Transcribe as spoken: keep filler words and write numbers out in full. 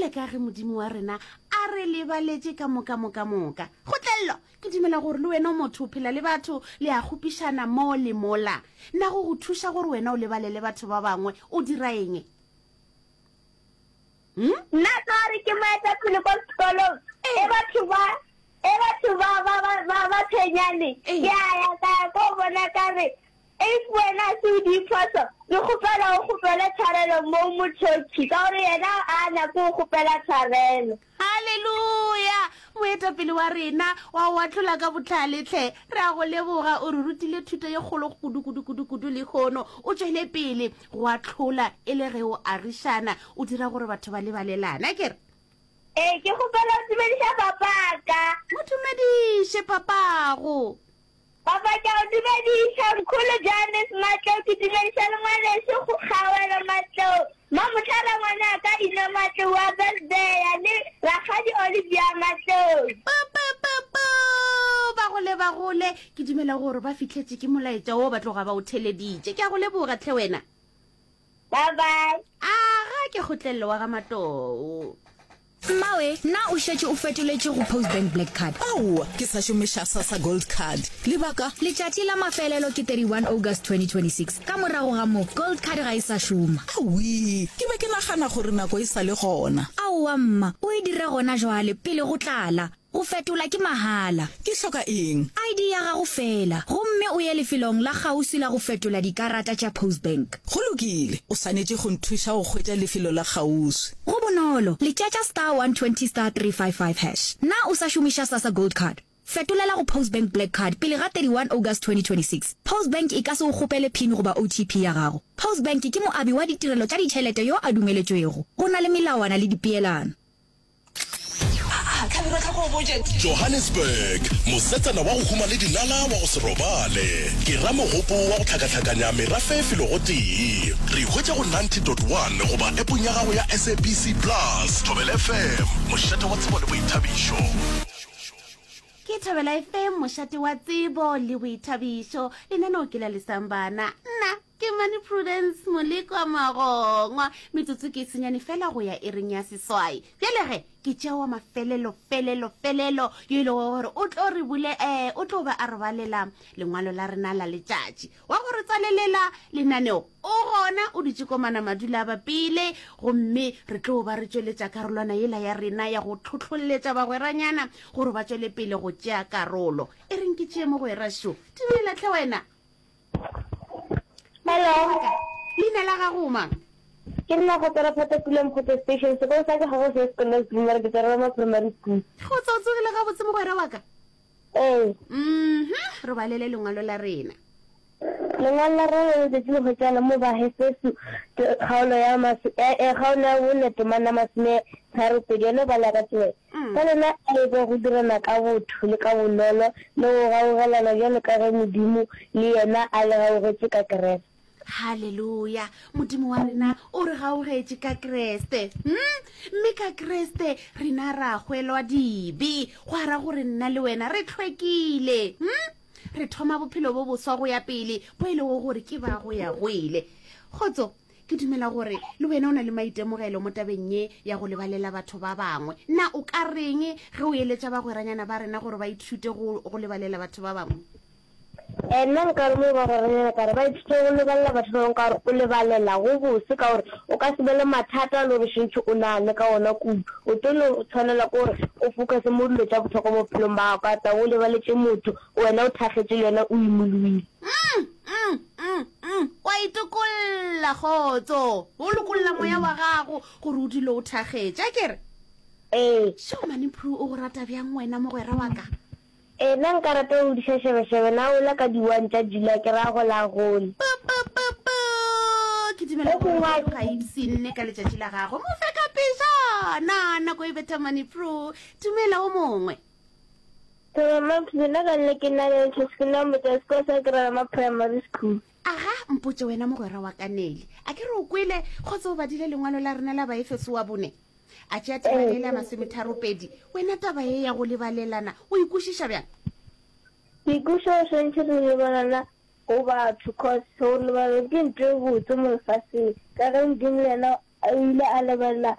Bjale ka ge Modimo wa rena a re lebaletše ka moka moka moka. Kgotlello, ke dumela gore le wena o motho, o phela le batho, le a kgopišana mo le mola. Na go go thuša gore wena o lebalele batho ba bangwe, o dira eng? Hmm? Nna ka gore ke moetapele ko sekolong, e batho ba e batho ba ba ba ba ba tshwenyane, Ee. ke a ya ka ya ko bona ka re, if wena se o diphoso, ke kgopela o kgopele tshwarelo mo mothoki, ka gore yena a nyake go kgopela tshwarelo. Haleluya! Moetapele wa rena wa go ahlola ka bohlale hle, re a go leboga, o re rutile thuto ye kgolo kudu kudu kudu kudu lehono. O tšwele pele go ahlola e le ge o agišana, o dira gore batho ba lebalelane, a ke re? Ee, ke kgopela go dumediša papaka. Mo dumediše papago. Papa, ke a go dumediša. Mkhulu Johannes Matlou, ke dumediša le ngwanešu Kgawelo Matlou, Mamohlala ngwanaka Ino Matlou wa Bethlehem le Rakgadi Olivia Matlou. Pu, pu, pu, pu! Ba gole, ba gole. Ke dumela gore ba fihletše ke molaetša wo ba tloga ba o theleditše. Ke a go leboga hle wena. Bye bye. Aga ke Kgotlello wa ga Matlou. Mmawe, na o šetše o fetoletše go Postbank Black Card? Aowa, ke sa šomiša Sassa Gold Card. Lebaka? Letšatši la mafelelo ke thirty one August twenty twenty six. Ka morago ga moo, Gold Card ga e sa šoma. Awii, ke be ke nagana gore nako e sa le gona. Aowa mma, o e dire gona jwale, pele go tlala. Go fetola ke mahala. Ke hloka eng? I D ya gago feela, gomme o ye lefelong la kgauswi la go fetola dikarata tša Postbank. Go lokile, o swanetše go nthuša go hwetša lefelo la kgauswi. Go bonolo, letšetša star one twenty star three five five hash. Na o sa šomiša Sassa Gold Card? Fetolela go Postbank Black Card pele ga thirty one August twenty twenty six. Postbank e ka se o kgopele PIN goba O T P ya gago. Postbank ke moabi wa ditirelo tša ditšhelete yo a dumeletšwego. Go na le melawana le dipeelano. Johannesburg, Mosetsana wa go huma le dinala wa go se robale. Ke ra mogopo wa go hlakahlakanya merafe felo gotee. Re hwetša go ninety dot one goba appong ya gago ya S A B C Plus. Thobela F M, mošate wa tsebo le boithabišo. Ke Thobela F M, mošate wa tsebo le boithabišo. Lenaneo ke la Lesang Bana. Nna ke Mane Prudence Molekwa Magongwa. Metsotso ke senyane fela go ya iring ya seswai. Bjale ge ke tšea wa mafelelo felelo felelo yo e lego gore o tlo re bule, eh, o tlo ba a re balela lengwalo la rena la letšatši. Wa go re tswalelela lenaneo o gona, o dutše komana madula a bapile, gomme re tlo ba re tšweletša karolwana yela ya rena ya go tlhohloletša bagweranyana gore ba tšwele pele go tšea karolo. E reng ke tšee mogwera šo. Dumela hle wena. Hello. Leina la gago mang? Ke nna go tswela Phata Pula Mokgotse Station. Sekolo sa ka ga go se sekolo se mara ke tswela ma primary school. Go tswa o tsogile gabotse mogwera wa ka? Ee. Mhm, re balele lengwalo la rena. Lengwalo la rena la letšatši le hwetšana mo Baefeso kgaolo ya mas-, eh, eh, kgaolo ya bone temana masome tharo pedi. Yona e bala ka tsela. Mm. Ka lena a e be go dirana ka botho le ka bonolo le go gaugelana bjalo ka ge Modimo le yena a le gaugetše ka Kriste. Haleluya! Modimo wa rena o re gaugetše ka Kriste. Hmm? Mme ka Kriste rena ra hwelwa dibe, gwa ra gore nna le wena re hlwekile. Hmm? Re thoma bophelo bo boswa go ya pele, bo e lego gore ke ba go ya go ile. Kgotso, ke dumela gore le wena o na le maitemogelo mo tabeng ye ya go lebalela batho ba bangwe. Na o ka reng ge o eletša bagweranyana ba rena gore ba ithute go, go lebalela batho ba bangwe? Eh, nna nka re mo bagweranyana ka re ba ithute go lebalela batho ba bangwe ka gore o lebalela go bose ka gore o ka se be le mathata le gore šentšhe o nagane ka ona kudu. O tlo no tshwanela ke gore o focuse mo dilo tša bohlokwa mo bophelong ba gago ka taba o lebaletše motho wena o thakgetše le wena o imologile. Mm, mm, mm, mm. Wa itokolla, kgotso. O lokolla moya wa gago gore o dule o thakgetše, a ke re? Ee. Sho, Mane Prue o go rata bjang wena mogwera wa ka? Ee, nna nka rata go godiša šebešebe na ola ka di one tša July ke ra go la gole. Pu, pu, pu, pu. Ke dumela gore o tloga ipshinne ka letšatši la gagwe. Mo fe ka pejana, nako e betha Mane Prue. Dumela o mongwe. Thobela Mampsy, nna ka nna ke nna le Ntšhose, ke nna motse wa sekolo sa Keralama Primary School. Aga, mpotše wena mogwera wa ka Nelly. A ke re o kwele kgotsa o badile lengwalo la rena la Baefeso wa bone? A tšea temana e le ya masometharopedi. Wena taba ye ya go lebalelana o e kwešiša bjang? Ke ikwešiša go swantšhe re lebalana go batho cause go lebalelwa ke ntho e botse mo lefaseng ka ge Modimo le yena o ile a lebalela